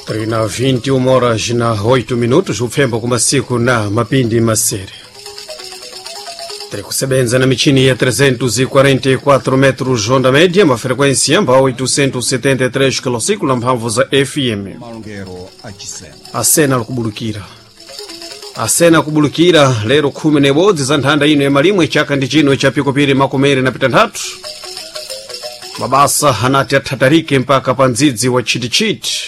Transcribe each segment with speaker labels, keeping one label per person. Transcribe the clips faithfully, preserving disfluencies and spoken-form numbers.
Speaker 1: Trina vinte e uma horas na oito minutos, upfembo kumasiku na mapindi masere. Tiri kusebenza na michini ya trezentos e quarenta e quatro metros onda média, uma frequência amba oitocentos e setenta e três quilociclo na mphamvu za F M.
Speaker 2: Malongero achisena.
Speaker 1: Asena likubulukira. Asena kubulukira lero khumi na ibodzi za nthanda ino ya malimwe chaka ndi chino cha pikupiri makumere na pitanthatu. Mabasa anati athatarike mpaka pa ndzidzi wa chitichiti.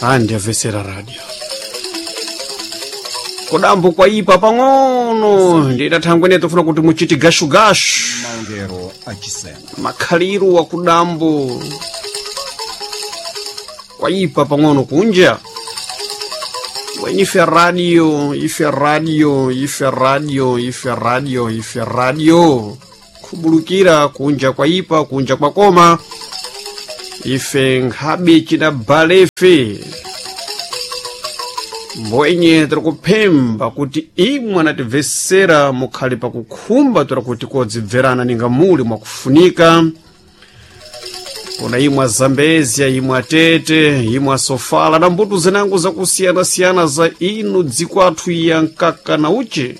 Speaker 1: Andi amvesera radio. Kudambo kwaipa pang'ono ndidathangwene tofuna kuti muchiti gashugashu.
Speaker 2: Malongero achisena.
Speaker 1: Makhaliru wa kudambo kwaipa pang'ono kunja. Bwenye ife radio, ife radio, ife radio, ife radio, ife radio. Kubulukira kunja kwaipa, kunja kwakoma. Ife nkhabe cidabalefe. Mbwenye tiri kuphemba kuti imwe anatibvesera mukhali pakukhumba tiri kuti kodzibverana ninga muli mwakufunika. Kuna imwe Zambezia, imwe Tete, imwe Sofala na mbuto zinango zakusiyana-siyana za inu dzikwathu ya nkaka na uchi.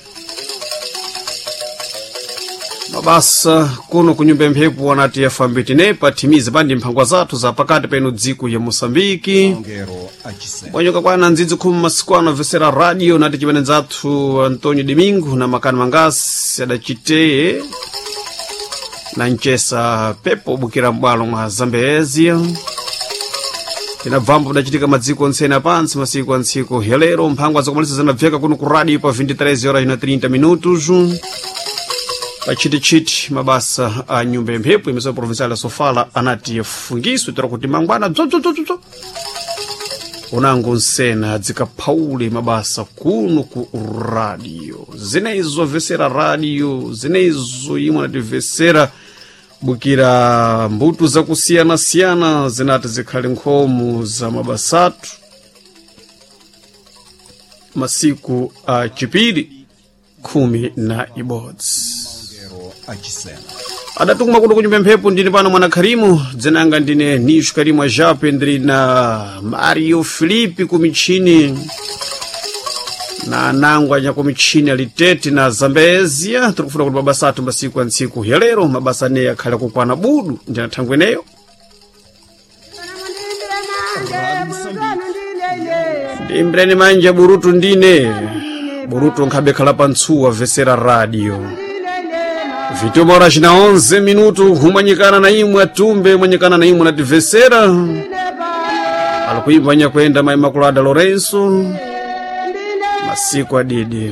Speaker 1: Mabasa kuno kunyumba mphepo anati yafambe tinepa thimize pandi mphangwa zathu za pakati penu dziko ya Moçambique.
Speaker 2: Malongero achisena.
Speaker 1: Bwanyoka kwana ndzidzi khumi masiku ano amvesera radio nati chimene nzathu Antonio Domingo na Makani Mangasi adachiteye na mchesa pepo bukira m'bwalo mwa Zambezia. Tinabvambo kudachitika madziko onse apansi masiku a ntsiku ya lero mphangwa zakumalisa zinabveka kuno ku radio pa vinte e três horas na trinta minutos. Pachitichiti mabasa a nyumba ya mphepo imeseo provincial ya Sofala anati yafungiswe tora kuti mangwana dzodzodzodzodzo unango nsena dzikaphaule mabasa kuno ku radio zinezo vesera radio zinezo imwe anativesera bukira mbuto zakusiyana-siyana zinati zikhale nkhomo za mabasatu masiku a chipiri khumi na ibodzi.
Speaker 2: Malongero achisena.
Speaker 1: Adatukuma kuno kunyumba mphepo ndine pano mwana Karimu dzinanga ndine Nisho Karimu Ajape ndiri na Mario Filipe kumichini na anangu anya kumichini alitete na Zambezia. Tiri kufuna kuti mabasa athu masiku a ntsiku ya lero mabasa aneyi akhale kukwana budu ndina thangwe eneyo. Ndiimbireni manja burutu ndine burutu nkhabe khala pa ntsuwa vesera radio. Vinte horas na onze minuto humanyikana na imwe atumbe manyikana na imwe nativesera alikuimba nyakwenda mai Makulada Lourenço masiku adidi.